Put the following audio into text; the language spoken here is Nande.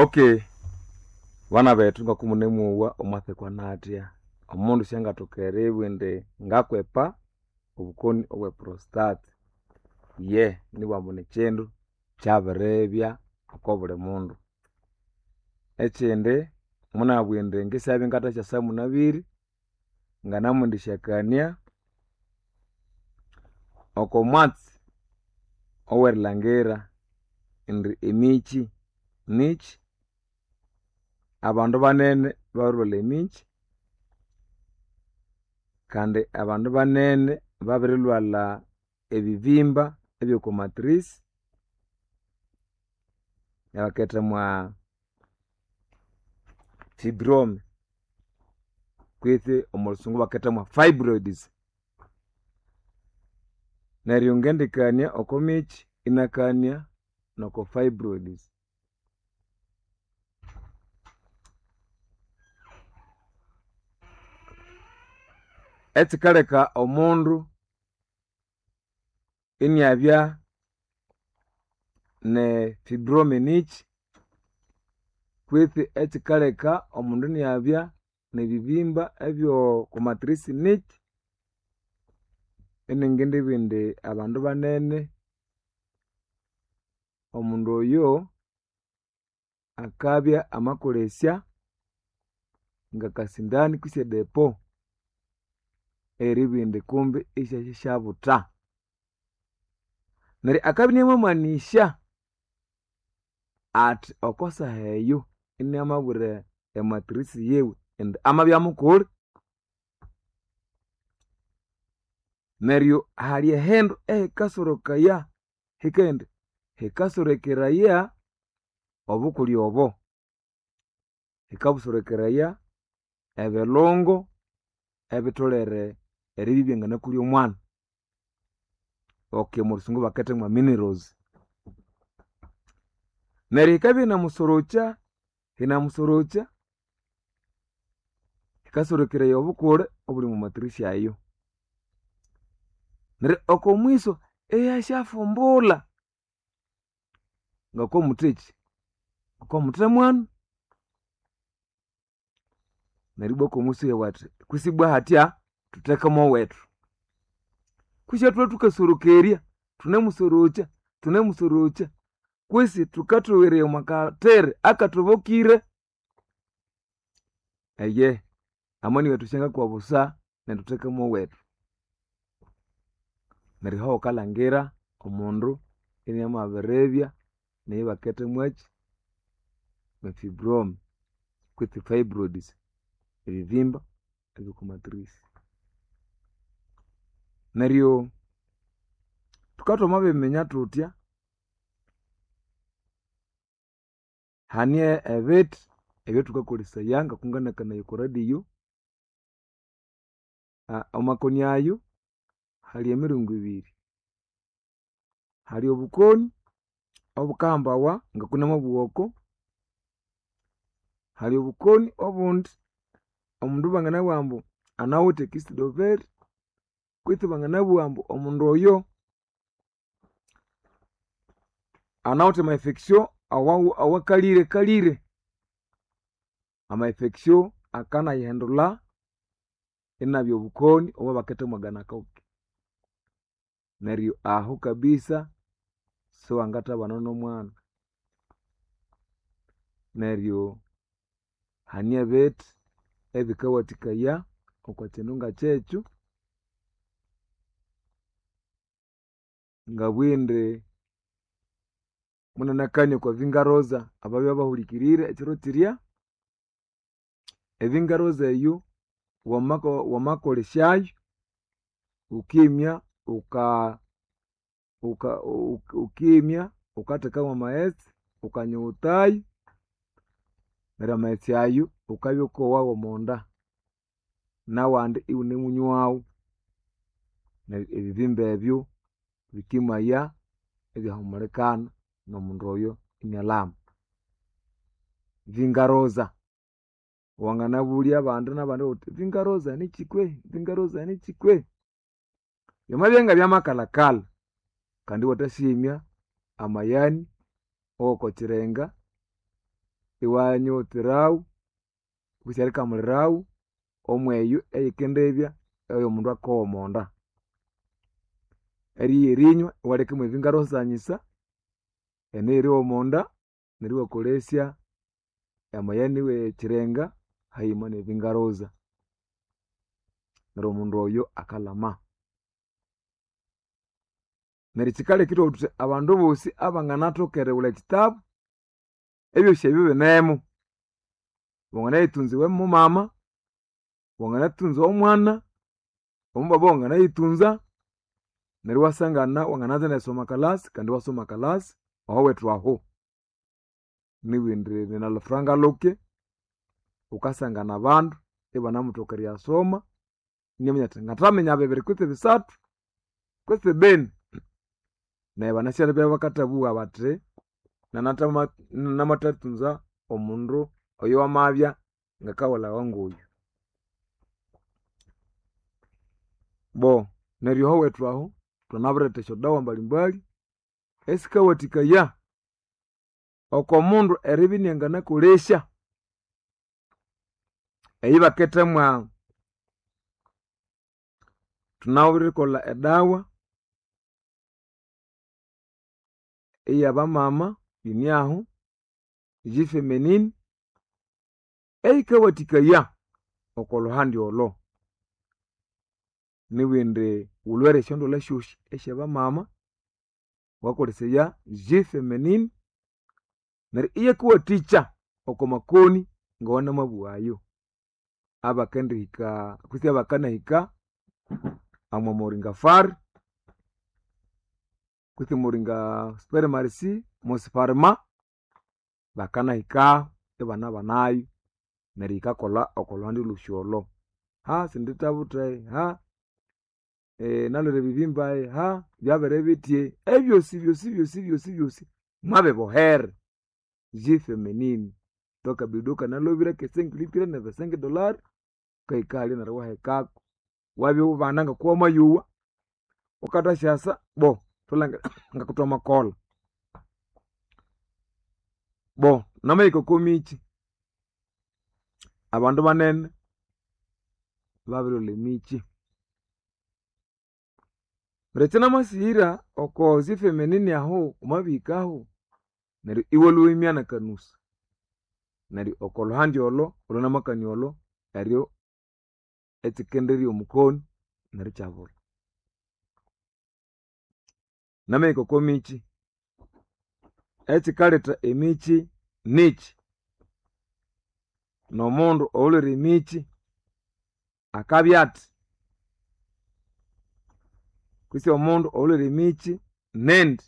Okay, bana bethu ngokumunemuwa omwathekwa natya omundu syangathoka eribugha indi ngakwepa obukoni obwe prostate. Ye nibughambu nikyindu kyabiribya oko buli mundu. Ekyindi munabugha indi ngisyabya ingathasyasa munabire nganamwendisyakania oko mwatsi owerilhangira indi emikyi nikyi, abandu banene babirilhwalha emikyi kandi abandu banene babirilhwalha ebibimba ebyoko matrix ebaketha mwa fibrome kwitsi omo lhusungu ibaketha mwa fibroids. Neryo ngendikania oko mikyi inakania noko fibroids. Ekyikaleka omundu iniabya ne fibrome nikyi kwitsi ekyikaleka omundu iniabya nebibimba ebyoko matrix nikyi, iningindibugha indi abandu banene omundu oyo akabya amakolesya ngakasindani kwisi edepo eribugha indi kumbi isyasyasyabutha. Neryo akabya inamamanĩsya athi oko saha eyo inamabwira ematrix yiwe indi amabya mukuli. Neryo hali ehindu ehikasorokaya hikaghenda hikasorekeraya obukuli obo, hikabusorekeraya ebilungo ebitholere eribya ibyanganakulya omwana. Okay omo lhusungu baketha mwa minerals. Neryo yikabya inamusorokya, inamusorokya, hikasorekeraya obukule obuli omo matrix ayo. Neryo oko mwiso ihyasyafumbulha ngokomutheki, ngokomuthe mwana. Neryo ibwa okomwiso iyabugha athi kwisi ibwa hatya thutheke mowethu. Kwisi ithwe thukasorokerya, thunemusorokya, thunemusorokya kwisi thukathoweraya omwa kathere akathobokire. Eye, amani wethu syangakwa busa neryo thutheke mowethu. Neryo aho wukalhangira omundu inamabiribya neyibaketha mwaki mwe fibrome kwitsi fibroids, ebibimba ebyoko matrix. Neryo thukabya thwamabiminya thuthya, hane ebithi ebyathukakolesaya ngokunganakanaya oko radio, amakoni ayo hali emiringo ibiri. Hali obukoni obukahambawa ngokunamabugha oko, hali obukoni obundi omundu banganabugha ambu anawithe ekisidoveri kwitsi banganabugha ambu omundu oyo anawithe ama infection awakalire kalire. Ama infection akanayihindulha inabya obukoni obwabaketha mwa gonococci. Neryo aho kabisa siwangathabana nomwana. Neryo hane ebithi ebikawathikaya oko kyindu ngakyekyo, ngabugha indi munanakania okwa vingaroza ababya bahulikirire ekyiro kirya, evingaroza eyo wamakolesyayo wukimya wukimya wukatheka mwamaghetse wukanyughutayo neryo amaghetse ayo wukabya wukowa womonda nawandi iwunemunywawo. Neryo ebibimba ebyo bikimaya ibyahumulikana nomundu oyo inalhama. Vingaroza wanganabulya abandi nabandi wuthi vingaroza nikyi kwehi, vingaroza nikyi kwehi? Byamabya ngabyamakalhakalha kandi iwathasyimya amayani awoko kyirenga. Iwanyoterawu kwisi erikamulirawu omweyo eyikendibya eyomundu akowa omonda. Erigha erinywa iwaleka mwevingarosanyisa ene eriowa omonda neryo iwakolesya amayani wechirenga hayima nevingaroza. Neryo omundu oyo akalhama. Neryo kyikaleka ithwabugha thuthi abandu bosi abanganathoka erighulha ekyitabu, ebyosi ebyo binemu. Wanganayitunza iwe mumama, wanganatunza omwana, omubaba wanganayitunza, neryo iwasangana wangananza nerisoma kalasi kandi iwasoma kalasi ahowethu aho. Nibindi ninalufuranga luke, wukasangana abandu ibanamuthoka eriyasoma, inaminya athi ngathaminya bibiri kutse bisathu kutse bini. Neryo banasyalebya bakathabugha bathi namathatunza omundu oyo wamabya ngakawulhawa ngoyu. Bo neryo ahowethu aho thwanabiretha esyodawa mbalimbali esikawathikaya oko mundu eribya inianganakolesya eyibakithemwa thunawirikolha edawa eyabamama yiniahu G-feminine eyikawathikaya oko lhuhandi olho. Nibindi wulhwere esyondwalha syosi esyabamama wukakolesaya G-feminine neryo iyakuwathikya oko makoni ngawanamabugha ayo abakendihika kutse abakanahika omwa moringa far kutse moringa spermarisi mosifarma bakanahikaho ibanabanayo neryo yikakolha oko lhuhandi lhosi olho. Ha sindithabutha ha nalhwere ebibimba ha byabere bithye ebyosi byosi byosi byosi byosi mwabibohere G-feminine twakabido kanalhobire kesengi nebesengi dolari wukahika halya neryo iwahekako wabya ibana ngoku wamayowa wukathasyasa bo thulangire ngakuthwamakolha. Bo namahika oko mikyi, abandu banene babirilhwalha emikyi. Neryo ekyinamasighira oko G-feminine ahu wamabihikahu neryo iwalhwa nakanusa. Neryo oko lhuhandi olho olhwanamakania olho neryo ekyikenderya omukoni neryo ikyabulha. Namahika oko mikyi, ekyikaletha emikyi nikyi? Nomundu oyulhwere emikyi akabya athi? Kwisi omundu oyulhwere emikyi nindi?